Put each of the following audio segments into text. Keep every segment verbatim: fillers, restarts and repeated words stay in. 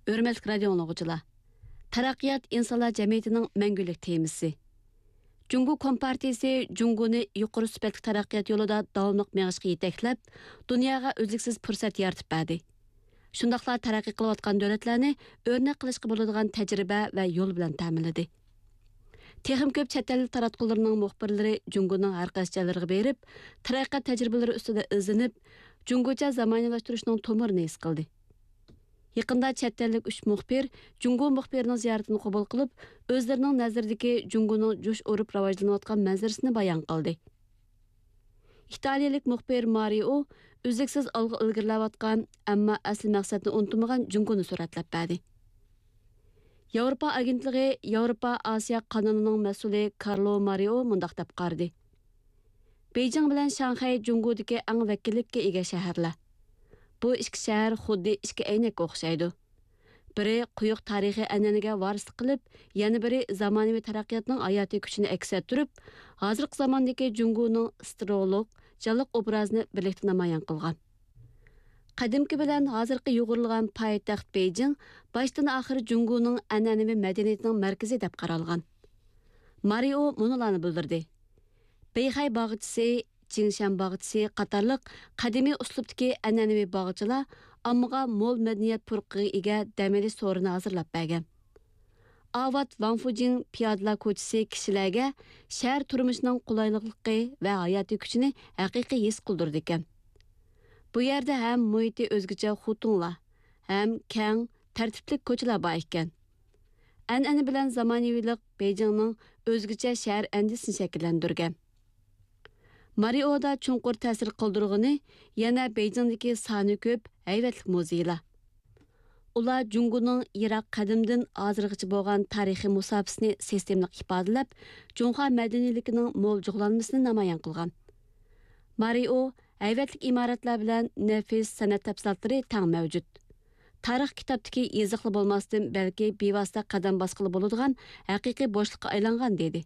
ھۆرمەتلىك رادىئو ئاڭلىغۇچىلار! تەرەققىيات ئىنسانلار جەمئىيىتىنىڭ مەڭگۈلۈك تېمىسى. جۇڭگو كومپارتىيىسى جۇڭگونى يۇقىرى سۈپەتلىك تەرەققىيات يولىدا داۋاملىق مېڭىشقا يېتەكلەپ، دۇنياغا ئۈزلۈكسىز پۇرسەت يارىتىپ بەردى. شۇنداقلا تەرەققىي قىلىۋاتقان دۆلەتلەرنى ئۆرنەك قىلىشقا بولىدىغان تەجرىبە ۋە يول بىلەن تەمىنلىدى. تېخىمۇ كۆپ چەت ئەل تاراتقۇلىرىنىڭ مۇخبىرلىرى جۇڭگونىڭ ھەر قايسى جايلىرىغا بېرىپ، تەرەققىيات تەجرىبىلىرى ئۈستىدە ئىزدىنىپ، جۇڭگوچە زامانىۋىلاشتۇرۇشنىڭ تومۇرىنى ھېس قىلدى. يېقىندا چەت ئەللىك ئۈچ مۇخبىر جۇڭگو مۇخبىرىنىڭ زىيارىتىنى قوبۇل قىلىپ، ئۆزلىرىنىڭ نەزىرىدىكى جۇڭگونىڭ جۇش ئۇرۇپ راۋاجلىنىۋاتقان مەنزىرىسىنى بايان قىلدى. ئىتالىيەلىك مۇخبىر مارىئو ئۈزلۈكسىز ئالغا ئىلگىرىلەۋاتقان، ئەمما ئەسلى مەقسەتنى ئۇنتۇمىغان جۇڭگونى سۈرەتلەپ بەردى. ياۋروپا ئاگېنتلىقى ياۋروپا ئاسىيا قانىلىنىڭ مەسئۇلى كارلو مارىئو مۇنداق دەپ قارىدى: بېيجىڭ بىلەن شاڭخەي جۇڭگودىكى ئەڭ ۋەكىللىككە ئىگە شەھەرلەر. بۇ ئىككى شەھەر خۇددى ئىككى ئەينەككە ئوخشايدۇ. بىرى قويۇق تارىخىي ئەنئەنىگە ۋارىسلىق قىلىپ، يەنە بىرى زامانىۋى تەرەققىياتنىڭ ھاياتىي كۈچىنى ئەكس ئەتتۈرۈپ، ھازىرقى زاماندىكى جۇڭگونىڭ سترولۇق، جانلىق ئوبرازىنى بىرلىكتە نامايان قىلغان. قەدىمكى بىلەن ھازىرقى يۇغۇرۇلغان پايتەخت بېيجىڭ باشتىن ئاخىر جۇڭگونىڭ ئەنئەنىۋى مەدەنىيىتىنىڭ مەركىزى دەپ قارالغان. مارىئو مۇنۇلارنى بىلدۈردى: بېيخەي باغچىسى، جىڭشەن باغچىسى قاتارلىق قەدىمىي ئۇسلۇبتىكى ئەنئەنىۋى باغچىلار ئاممىغا مول مەدەنىيەت پۇرىقىغا ئىگە دەم ئېلىش سورۇنى ھازىرلاپ بەرگەن. ئاۋات ۋاڭفۇجىڭ پىيادىلەر كوچىسى كىشىلەرگە شەھەر تۇرمۇشىنىڭ قولايلىقلىقى ۋە ھاياتىي كۈچىنى ھەقىقىي ھېس قىلدۇرىدىكەن. بۇ يەردە ھەم مۇھىتى ئۆزگىچە خۇتۇڭلار، ھەم كەڭ، تەرتىپلىك كوچىلار بار ئىكەن. ئەنئەنە بىلەن زامانىۋىلىق بېيجىڭنىڭ ئۆزگىچە شەھەر ئەندىزىسىنى شەكىللەندۈرگەن. مارىئودا چوڭقۇر تەسىر قالدۇرغىنى يەنە بېيجىڭدىكى سانى كۆپ ھەيۋەتلىك مۇزېيلار. ئۇلار جۇڭگونىڭ يىراق قەدىمدىن ھازىرغىچە بولغان تارىخىي مۇساپىسىنى سىستېمىلىق ئىپادىلەپ، جۇڭخۇا مەدەنىيلىكىنىڭ مول جۇغلانمىسىنى نامايان قىلغان. مارىئو ھەيۋەتلىك ئىمارەتلەر بىلەن نەپىس سەنئەت تەپسىلاتلىرى تەڭ مەۋجۇت. تارىخ كىتابتىكى يېزىقلا بولماستىن، بەلكى بىۋاسىتە قەدەم باسقىلى بولىدىغان ھەقىقىي بوشلۇققا ئايلانغان، دېدى.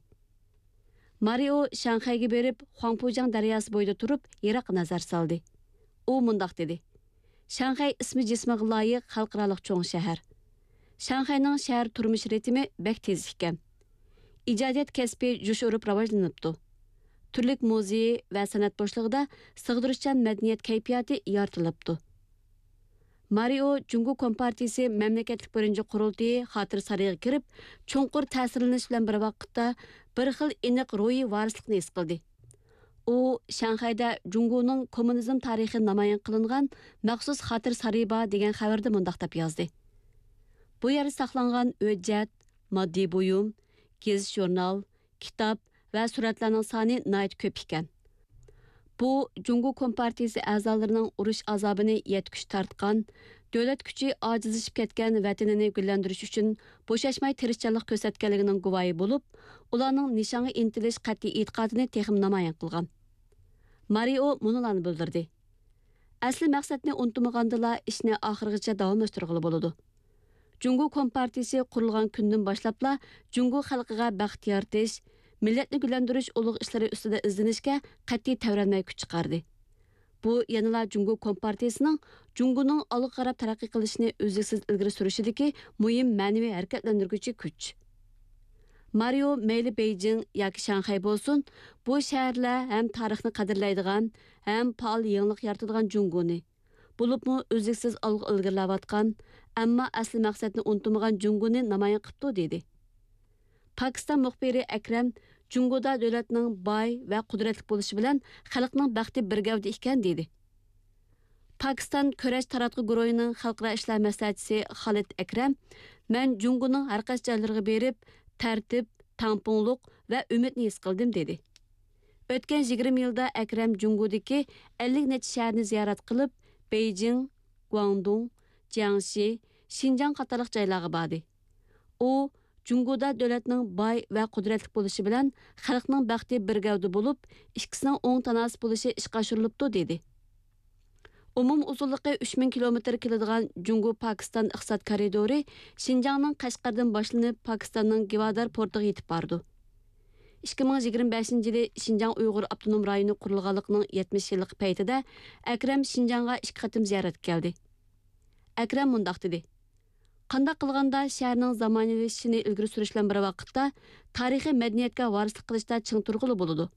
مارىئو شاڭخەيگە بېرىپ، خۇاڭپۇجياڭ دەرياسى بويىدا تۇرۇپ، يىراققا نەزەر سالدى. ئۇ مۇنداق دېدى: شاڭخەي ئىسمى جىسمىغا لايىق خەلقئارالىق چوڭ شەھەر. شاڭخەينىڭ شەھەر تۇرمۇش رىتىمى بەك تېز ئىكەن. ئىجادىيەت كەسپى جۇش ئۇرۇپ راۋاجلىنىپتۇ. تۈرلۈك مۇزېي ۋە سەنئەت بوشلۇقىدا سىغدۇرۇشچان مەدەنىيەت كەيپىياتى يارىتىلىپتۇ. مارىئو جۇڭگو كومپارتىيىسى مەملىكەتلىك بىرىنچى قۇرۇلتىيى خاتىرە سارىيىغا كىرىپ، چوڭقۇر تەسىرلىنىش بىلەن بىر ۋاقىتتا، بىر خىل ئېنىق روھىي ۋارىسلىقنى ھېس قىلدى. ئۇ شاڭخەيدە جۇڭگونىڭ كوممۇنىزم تارىخى نامايان قىلىنغان مەخسۇس خاتىرە سارىيى بار دېگەن خەۋىرىدە مۇنداق دەپ يازدى: بۇ يەردە ساقلانغان ھۆججەت، ماددىي بۇيۇم، گېزىت-ژۇرنال، كىتاب ۋە سۈرەتلەرنىڭ سانى ناھايىتى كۆپ ئىكەن. بۇ جۇڭگو كومپارتىيىسى ئەزالىرىنىڭ ئۇرۇش ئازابىنى يەتكۈچە تارتقان، دۆلەت كۈچى ئاجىزلىشىپ كەتكەن ۋەتىنىنى گۈللەندۈرۈش ئۈچۈن بوشاشماي تىرىشچانلىق كۆرسەتكەنلىكىنىڭ گۇۋاھى بولۇپ، ئۇلارنىڭ نىشانغا ئىنتىلىش قەتئىي ئېتىقادىنى تېخىمۇ نامايان قىلغان. مارىئو مۇنۇلارنى بىلدۈردى: ئەسلى مەقسەتنى ئۇنتۇمىغاندىلا، ئىشنى ئاخىرغىچە داۋاملاشتۇرغىلى بولىدۇ. جۇڭگو كومپارتىيىسى قۇرۇلغان كۈندىن باشلاپلا جۇڭگو خەلقىگە بەخت يارىتىش، مىللەتنى گۈللەندۈرۈش ئۇلۇغ ئىشلىرى ئۈستىدە ئىزدىنىشكە قەتئىي تەۋرەنمەي كۈچ چىقاردى. بۇ يەنىلا جۇڭگو كومپارتىيىسىنىڭ جۇڭگونىڭ ئالغا قاراپ تەرەققىي قىلىشىنى ئۈزلۈكسىز ئىلگىرى سۈرۈشىدىكى مۇھىم مەنىۋى ھەرىكەتلەندۈرگۈچى كۈچ. مارىئو مەيلى بېيجىڭ ياكى شاڭخەي بولسۇن، بۇ شەھەرلەر ھەم تارىخنى قەدىرلەيدىغان، ھەم پائال يېڭىلىق يارىتىدىغان جۇڭگونى، بولۇپمۇ ئۈزلۈكسىز ئالغا ئىلگىرىلەۋاتقان، ئەمما ئەسلى مەقسەتنى ئۇنتۇمىغان جۇڭگونى نامايان قىپتۇ، دېدى. پاكىستان مۇخبىرى ئەكرەم جۇڭگودا دۆلەتنىڭ باي ۋە قۇدرەتلىك بولۇشى بىلەن خەلقنىڭ بەختى بىر گەۋدە ئىكەن، دېدى. پاكىستان كۈرەش تاراتقۇ گۇرۇھىنىڭ خەلقئارا ئىشلار مەسلىھەتچىسى خالىد ئەكرەم، مەن جۇڭگونىڭ ھەرقايسى جايلىرىغا بېرىپ، تەرتىپ، تەڭپۇڭلۇق ۋە ئۈمىدنى ھېس قىلدىم، دېدى. ئۆتكەن يىگىرمە يىلدا ئەكرەم جۇڭگودىكى ئەللىك نەچچە شەھەرنى زىيارەت قىلىپ، بېيجىڭ، گۇاڭدۇڭ، جياڭشى، شىنجاڭ قاتارلىق جايلارغا باردى. ئۇ، جۇڭگودا دۆلەتنىڭ باي ۋە قۇدرەتلىك بولۇشى بىلەن خەلقنىڭ بەختى بىر گەۋدە بولۇپ، ئىككىسىنىڭ ئوڭ تاناسىپ بولۇشى ئىشقا ئاشۇرۇلۇپتۇ، دېدى. ئومۇمىي ئۇزۇنلۇقى ئۈچ مىڭ كىلومېتىر كېلىدىغان جۇڭگو پاكىستان ئىقتىساد كارىدورى شىنجاڭنىڭ قەشقەردىن باشلىنىپ، پاكىستاننىڭ گىۋادار پورتىغا يېتىپ بارىدۇ. ئىككى مىڭ يىگىرمە بەشىنچى يىلى شىنجاڭ ئۇيغۇر ئاپتونوم رايونى قۇرۇلغانلىقىنىڭ يەتمىش يىللىقى پەيتىدە ئەكرەم شىنجاڭغا ئىككى قېتىم زىيارەتكە كەلدى. ئەكرەم مۇنداق دېدى: قانداق قىلغاندا شەھەرنىڭ زامانىۋىلىشىشىنى ئىلگىرى سۈرۈش بىلەن بىر ۋاقىتتا تارىخىي مەدەنىيەتكە ۋارىسلىق قىلىشتا چىڭ تۇرغىلى بولىدۇ؟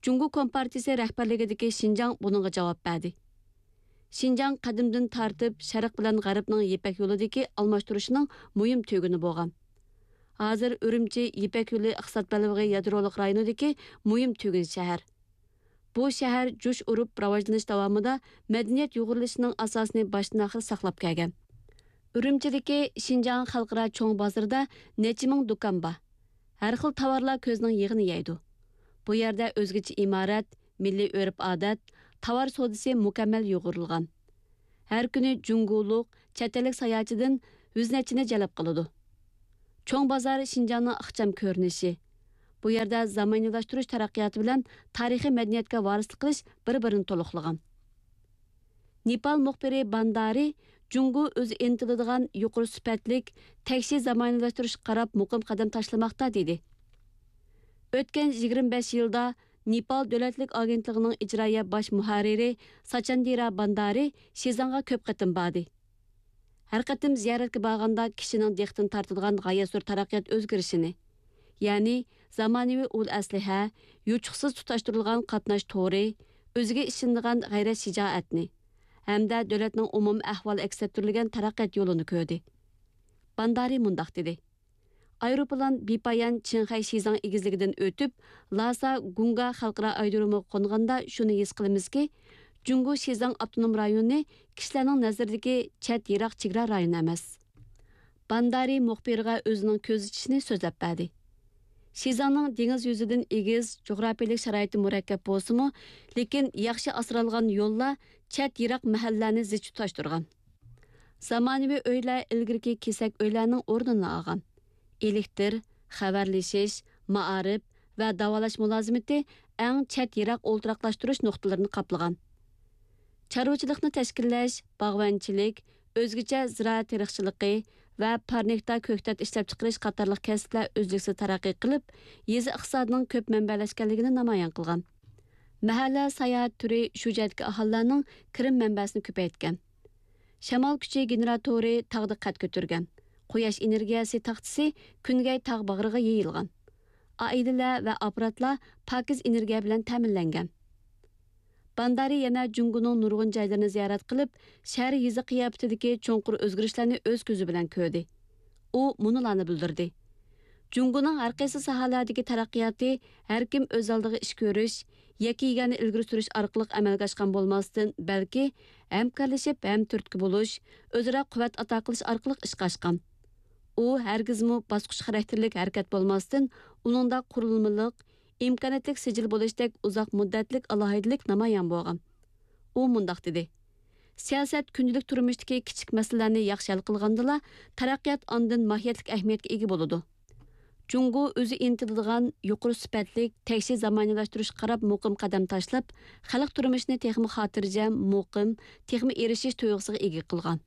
جۇڭگو كومپارتىيىسى رەھبەرلىكىدىكى شىنجاڭ بۇنىڭغا جاۋاب بەردى. شىنجاڭ قەدىمدىن تارتىپ شەرق بىلەن غەربنىڭ يىپەك يولىدىكى ئالماشتۇرۇشىنىڭ مۇھىم تۈگۈنى بولغان. ھازىر ئۈرۈمچى يىپەك يولى ئىقتىساد بەلبېغى يادرولۇق رايونىدىكى مۇھىم تۈگۈن شەھەر. بۇ شەھەر جۇش ئۇرۇپ راۋاجلىنىش داۋامىدا مەدەنىيەت يۇغۇرۇلۇشىنىڭ ئاساسىنى باشتىن-ئاخىر ساقلاپ كەلگەن. ئۈرۈمچىدىكى شىنجاڭ خەلقئارا چوڭ بازىرىدا نەچچە مىڭ دۇكان بار. ھەر خىل تاۋارلار كۆزنىڭ يېغىنى يەيدۇ. بۇ يەردە ئۆزگىچە ئىمارەت، مىللىي ئۆرپ-ئادەت، تاۋار سودىسى مۇكەممەل يۇغۇرۇلغان. ھەر كۈنى جۇڭگولۇق، چەت ئەللىك ساياھەتچىدىن يۈز نەچچىنى جەلپ قىلىدۇ. چوڭ بازار شىنجاڭنىڭ ئىخچام كۆرۈنۈشى. بۇ يەردە زامانىۋىلاشتۇرۇش تەرەققىياتى بىلەن تارىخىي مەدەنىيەتكە ۋارىسلىق قىلىش بىر-بىرىنى تولۇقلىغان. نېپال مۇخبىرى باندارى جۇڭگو ئۆزى ئىنتىلىدىغان يۇقىرى سۈپەتلىك، تەكشى زامانىۋىلاشتۇرۇشقا قاراپ مۇقىم قەدەم تاشلىماقتا، دېدى. ئۆتكەن يىگىرمە بەش يىلدا نېپال دۆلەتلىك ئاگېنتلىقىنىڭ ئىجرائىيە باش مۇھەررىرى ساچاندىرا باندارى شىزاڭغا كۆپ قېتىم باردى. ھەر قېتىم زىيارەتكە بارغاندا كىشىنىڭ دىققىتىنى تارتىدىغان غايەت زور تەرەققىيات ئۆزگىرىشىنى، يەنى زامانىۋى ئۇل ئەسلىھە، يوچۇقسىز تۇتاشتۇرۇلغان قاتناش تورى، ئۆزىگە ئىشىنىدىغان غەيرەت شىجائەتنى ھەمدە دۆلەتنىڭ ئومۇمىي ئەھۋالى ئەكس ئەتتۈرۈلگەن تەرەققىيات يولىنى كۆردى. باندارى مۇنداق دېدى: ئايروپىلان بىپايان چىڭخەي شىزاڭ ئېگىزلىكىدىن ئۆتۈپ، لاسا گۇڭگا خەلقئارا ئايرودرومىغا قونغاندا شۇنى ھېس قىلىمىزكى، جۇڭگو شىزاڭ ئاپتونوم رايونى كىشىلەرنىڭ نەزىرىدىكى چەت يىراق چېگرا رايونى ئەمەس. باندارى مۇخبىرغا ئۆزىنىڭ كۆزىتىشىنى سۆزلەپ بەردى. شىزاڭنىڭ دېڭىز يۈزىدىن ئېگىز، جۇغراپىيەلىك شارائىتى مۇرەككەپ بولسىمۇ، لېكىن ياخشى ئاسرالغان يوللار چەت يىراق مەھەللىلەرنى زىچ تۇتاشتۇرغان. زامانىۋى ئۆيلەر ئىلگىرىكى كېسەك ئۆيلەرنىڭ ئورنىنى ئالغان. ئېلېكتىر، خەۋەرلىشىش، مائارىپ ۋە داۋالاش مۇلازىمىتى ئەڭ چەت يىراق ئولتۇراقلاشتۇرۇش نۇقتىلىرىنى قاپلىغان. چارۋىچىلىقنى تەشكىللەش، باغۋەنچىلىك، ئۆزگىچە زىرائەت تېرىقچىلىقى ۋە پارنىكتا كۆكتات ئىشلەپچىقىرىش قاتارلىق كەسىپلەر ئۈزلۈكسىز تەرەققىي قىلىپ، يېزا ئىقتىسادىنىڭ كۆپ مەنبەلەشكەنلىكىنى نامايان قىلغان. مەھەللە ساياھەت تۈرى شۇ جەھەتتىكى ئاھالىلەرنىڭ كىرىم مەنبەسىنى كۆپەيتكەن. شامال كۈچى گېنېراتورى تاغدا قەد كۆتۈرگەن. قۇياش ئېنېرگىيەسى تاختىسى كۈنگەي تاغ باغرىغا يېيىلغان. ئائىلىلەر ۋە ئاپپاراتلار پاكىز ئېنېرگىيە بىلەن تەمىنلەنگەن. باندارى يەنە جۇڭگونىڭ نۇرغۇن جايلىرىنى زىيارەت قىلىپ، شەھەر يېزا قىياپىتىدىكى چوڭقۇر ئۆزگىرىشلەرنى ئۆز كۆزى بىلەن كۆردى. ئۇ مۇنۇلارنى بىلدۈردى: جۇڭگونىڭ ھەر قايسى ساھەلەردىكى تەرەققىياتى ھەر كىم ئۆز ئالدىغا ئىش كۆرۈش، يەككە يېگەننى ئىلگىرى سۈرۈش ئارقىلىق ئەمەلگە ئاشقان بولماستىن، بەلكى ھەمكارلىشىپ، ھەم تۈرتكە بولۇش، ئۆزئارا قۇۋۋەت ئاتا قىلىش ئارقىلىق ئىشقا ئاشقان. ئۇ ھەرگىزمۇ باسقۇچ خاراكتېرلىك ھەرىكەت بولماستىن، ئۇنىڭدا قۇرۇلمىلىق، ئىمكانىيەتلىك سىجىل بولۇشتەك ئۇزاق مۇددەتلىك ئالاھىدىلىك نامايان بولغان. ئۇ مۇنداق دېدى: سىياسەت كۈندىلىك تۇرمۇشتىكى كىچىك مەسىلىلەرنى ياخشى ھەل قىلغاندىلا، تەرەققىيات ئاندىن ماھىيەتلىك ئەھمىيەتكە ئىگە بولىدۇ. جۇڭگو ئۆزى ئىنتىلىدىغان يۇقىرى سۈپەتلىك، تەكشى زامانىۋىلاشتۇرۇشقا قاراپ مۇقىم قەدەم تاشلاپ، خەلق تۇرمۇشىنى تېخىمۇ خاتىرجەم، مۇقىم، تېخىمۇ ئېرىشىش تۇيغۇسىغا ئىگە قىلغان.